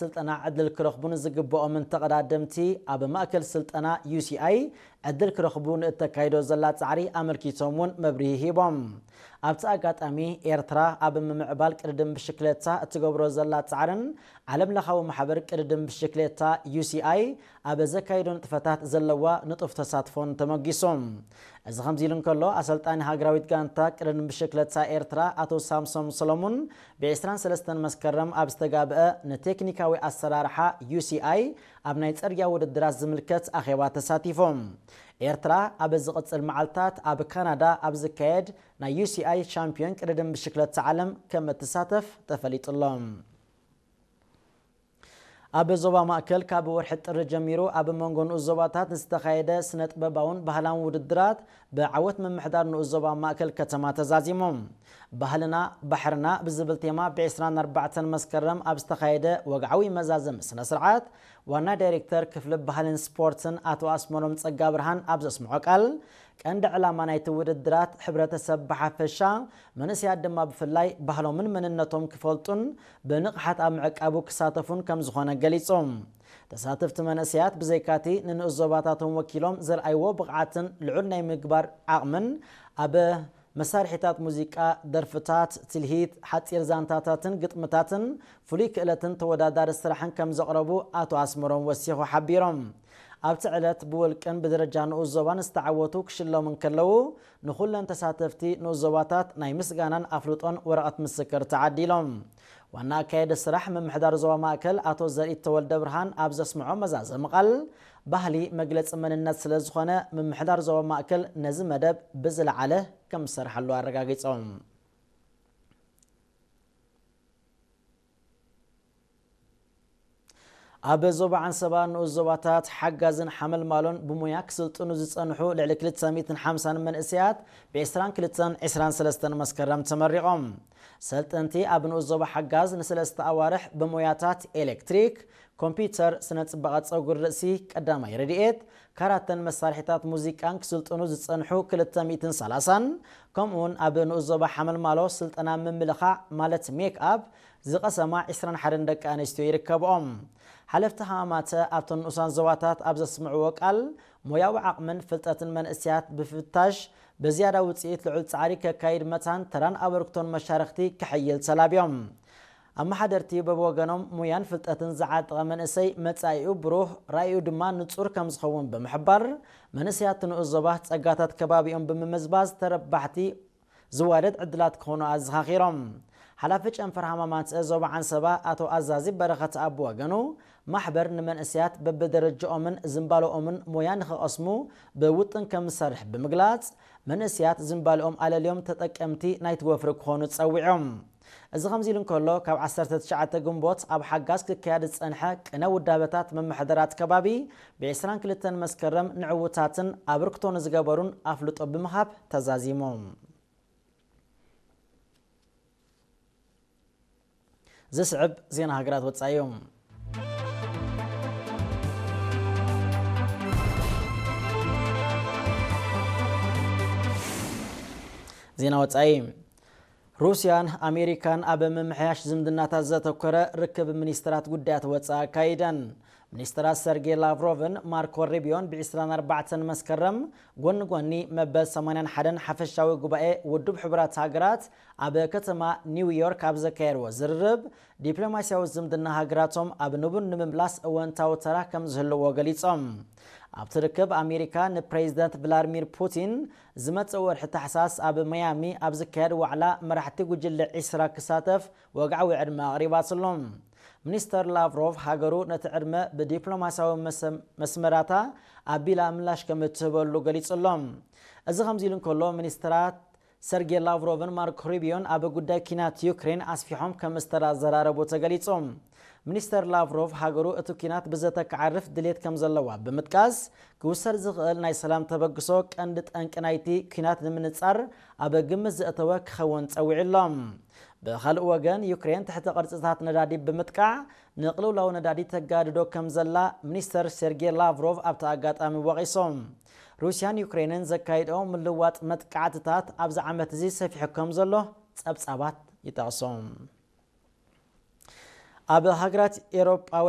ስልጠና ዕድል ክረኽቡን ዝግብኦምን ተቐዳደምቲ ኣብ ማእከል ስልጠና ዩ ሲ ኣይ ዕድል ክረኽቡ ንእተካይዶ ዘላ ጻዕሪ ኣመልኪቶም እውን መብርሂ ሂቦም። ኣብቲ ኣጋጣሚ፣ ኤርትራ ኣብ ምምዕባል ቅድድም ብሽክለታ እትገብሮ ዘላ ጻዕርን ዓለም ለኻዊ ማሕበር ቅድድም ብሽክሌታ ዩ ሲ ኣይ ኣብ ዘካይዶ ንጥፈታት ዘለዋ ንጡፍ ተሳትፎን ተመጊሱ። እዚ ከምዚ ኢሉ እንከሎ፣ ኣሰልጣኒ ሃገራዊት ጋንታ ቅድድም ብሽክለታ ኤርትራ ኣቶ ሳምሶም ሰሎሙን ብ ዕስራን ሰለስተን መስከረም ኣብ ዝተጋብአ ንቴክኒካዊ ኣሰራርሓ ዩ ሲ ኣይ ኣብ ናይ ጽርግያ ውድድራት ዝምልከት ኣኼባ ተሳቲፎም። ኤርትራ ኣብ ዝቕጽል መዓልታት ኣብ ካናዳ ኣብ ዝካየድ ናይ ዩ ሲ ኣይ ሻምፒዮን ቅድድም ብሽክለታ ዓለም ከም እትሳተፍ ተፈሊጡ ኣሎ። ኣብ ዞባ ማእከል ካብ ወርሒ ጥሪ ጀሚሩ ኣብ መንጎ ንኡስ ዞባታት ንዝተኻየደ ስነ ጥበባውን ባህላውን ውድድራት ብዓወት ምምሕዳር ንኡስ ዞባ ማእከል ከተማ ተዛዚሙ። ባህልና ባሕርና ብዝብል ቴማ ብ ዕስራን ኣርባዕተን መስከረም ኣብ ዝተኻየደ ወግዓዊ መዛዘሚ ስነ ስርዓት ዋና ዳይሬክተር ክፍሊ ባህልን ስፖርትን ኣቶ ኣስመሮም ጸጋ ብርሃን ኣብ ዘስምዖ ቃል፣ ቀንዲ ዕላማ ናይቲ ውድድራት ሕብረተሰብ ብሓፈሻ፣ መንእሰያት ድማ ብፍላይ ባህሎምን መንነቶም ክፈልጡን ብንቕሓት ኣብ ምዕቃቡ ክሳተፉን ከም ዝኾነ ገሊጹ። ተሳተፍቲ መንእሰያት ብዘይካቲ ንንኡስ ዞባታቶም ወኪሎም ዘርኣይዎ ብቕዓትን ልዑል ናይ ምግባር ዓቕምን ኣብ መሳርሒታት ሙዚቃ፣ ደርፍታት፣ ትልሂት፣ ሓጺር ዛንታታትን ግጥምታትን ፍሉይ ክእለትን ተወዳዳሪ ስራሕን ከም ዘቕረቡ ኣቶ ኣስመሮም ወሲኹ ሓቢሮም። ኣብቲ ዕለት ብውልቅን ብደረጃ ንኡስ ዞባን ዝተዓወቱ ክሽለሙ እንከለዉ፣ ንኹለን ተሳተፍቲ ንኡስ ዞባታት ናይ ምስጋናን ኣፍልጦን ወረቐት ምስክር ተዓዲሎም። ዋና ኣካየዲ ስራሕ ምምሕዳር ዞባ ማእከል ኣቶ ዘርኢት ተወልደ ብርሃን ኣብ ዘስምዖ መዛዘሚ ቃል፣ ባህሊ መግለጺ መንነት ስለ ዝኾነ፣ ምምሕዳር ዞባ ማእከል ነዚ መደብ ብዝለዓለ ከም ዝሰርሓሉ ኣረጋጊጾም። ኣብ ዞባ ዓንሰባ ንኡስ ዞባታት ሓጋዝን ሓመልማሎን ብሞያ ክስልጥኑ ዝጸንሑ ልዕሊ ክልተ ሚእትን ሓምሳን መንእሰያት ብ ዕስራን ክልተን ዕስራን ሰለስተን መስከረም ተመሪቖም። ሰልጠንቲ ኣብ ንኡስ ዞባ ሓጋዝ ንሰለስተ ኣዋርሕ ብሞያታት ኤሌክትሪክ፣ ኮምፒውተር፣ ስነ ጽባቐ ጸጉሪ ርእሲ፣ ቀዳማይ ረድኤት፣ ካራተን መሳርሒታት ሙዚቃን ክስልጥኑ ዝጸንሑ ክልተ ሚእትን ሰላሳን፣ ከምኡውን ኣብ ንኡስ ዞባ ሓመልማሎ ስልጠና ምምልኻዕ ማለት ሜክ ኣፕ ዝቐሰማ ዕስራን ሓደን ደቂ ኣንስትዮ ይርከብኦም። ሓለፍቲ ሃማማተ ኣብተን ንኡሳን ዞባታት ኣብ ዘስምዕዎ ቃል፣ ሞያዊ ዓቕምን ፍልጠትን መንእሰያት ብፍታሽ ብዝያዳ ውጽኢት ልዑል ጻዕሪ ከካይድ መታን ተራን ኣበርክቶን መሻርኽቲ ከሐይል ተላብዮም። ኣመሓደርቲ በብወገኖም ሞያን ፍልጠትን ዝዓጠቐ መንእሰይ መጻኢኡ ብሩህ፣ ራእዩ ድማ ንጹር ከም ዝኸውን ብምሕባር፣ መንእሰያት ንኡስ ዞባ ጸጋታት ከባቢኦም ብምምዝባዝ ተረባሕቲ ዝዋደድ ዕድላት ክኾኑ ኣዘኻኺሮም። ሓላፊ ጨንፈር ሃማማት ዞባ ዓንሰባ ኣቶ ኣዛዚ በረኸት ኣብ ወገኑ፣ ማሕበር ንመንእሰያት በብደረጃኦምን ዝንባለኦምን ሞያ ንኽቐስሙ ብውጥን ከም ዝሰርሕ ብምግላጽ፣ መንእሰያት ዝንባለኦም ኣለልዮም ተጠቀምቲ ናይቲ ወፍሪ ክኾኑ ጸዊዖም። እዚ ከምዚ ኢሉ እንከሎ፣ ካብ ዓሰርተ ትሽዓተ ግንቦት ኣብ ሓጋዝ ክካየድ ዝጸንሐ ቅነ ውዳበታት ምምሕዳራት ከባቢ ብ ዕስራን ክልተን መስከረም ንዕውታትን ኣበርክቶ ንዝገበሩን ኣፍልጦ ብምሃብ ተዛዚሞም። ዝስዕብ ዜና ሃገራት ወጻኢ እዩ። ዜና ወጻኢ። ሩስያን ኣሜሪካን ኣብ ምምሕያሽ ዝምድናታት ዘተኮረ ርክብ ሚኒስትራት ጉዳያት ወጻኢ ኣካይደን። ሚኒስትራት ሰርጌይ ላቭሮቭን ማርኮ ሩቢዮን ብ ዕስራን ኣርባዕተን መስከረም ጎኒ ጎኒ መበል ሰማንያን ሓደን ሓፈሻዊ ጉባኤ ውድብ ሕቡራት ሃገራት ኣብ ከተማ ኒውዮርክ ኣብ ዘካየድዎ ዝርርብ፣ ዲፕሎማስያዊ ዝምድና ሃገራቶም ኣብ ንቡር ንምምላስ እወንታዊ ተራ ከም ዝህልዎ ገሊጾም። ኣብቲ ርክብ፣ ኣሜሪካ ንፕሬዚደንት ቭላድሚር ፑቲን ዝመጽእ ወርሒ ታሕሳስ ኣብ ማያሚ ኣብ ዝካየድ ዋዕላ መራሕቲ ጉጅለ ዒስራ ክሳተፍ ወግዓዊ ዕድመ ኣቕሪባትሎም። ሚኒስተር ላቭሮቭ፣ ሃገሩ ነቲ ዕድመ ብዲፕሎማስያዊ መሰ-፣ መስመራታ ኣቢላ ምላሽ ከም እትህበሉ ገሊጹሎም። እዚ ከምዚ ኢሉ እንከሎ፣ ሚኒስተራት ሰርጌ ላቭሮቭን ማርኮ ሩቢዮን ኣብ ጉዳይ ኲናት ዩክሬን ኣስፊሖም ከም ዝተዘራረቡ ተገሊጹ። ሚኒስተር ላቭሮቭ፣ ሃገሩ እቲ ኲናት ብዘተ ክዓርፍ ድሌት ከም ዘለዋ ብምጥቃስ፣ ክውሰድ ዝኽእል ናይ ሰላም ተበግሶ ቀንዲ ጠንቂ ናይቲ ኲናት ንምንጻር ኣብ ግምት ዘእተወ ክኸውን ጸዊዑ ኣሎ። ብኻልእ ወገን፣ ዩክሬን ትሕቲ ቅርጽታት ነዳዲ ብምጥቃዕ ንቕልውላው ነዳዲ ተጋድዶ ከም ዘላ ሚኒስተር ሴርጌ ላቭሮቭ ኣብቲ ኣጋጣሚ ወቒሶም። ሩስያን ዩክሬንን ዘካይድኦ ምልዋጥ መጥቃዕትታት ኣብዚ ዓመት እዚ ሰፊሑ ከም ዘሎ ጸብጻባት ይጠቕሱ። ኣብ ሃገራት ኤሮጳ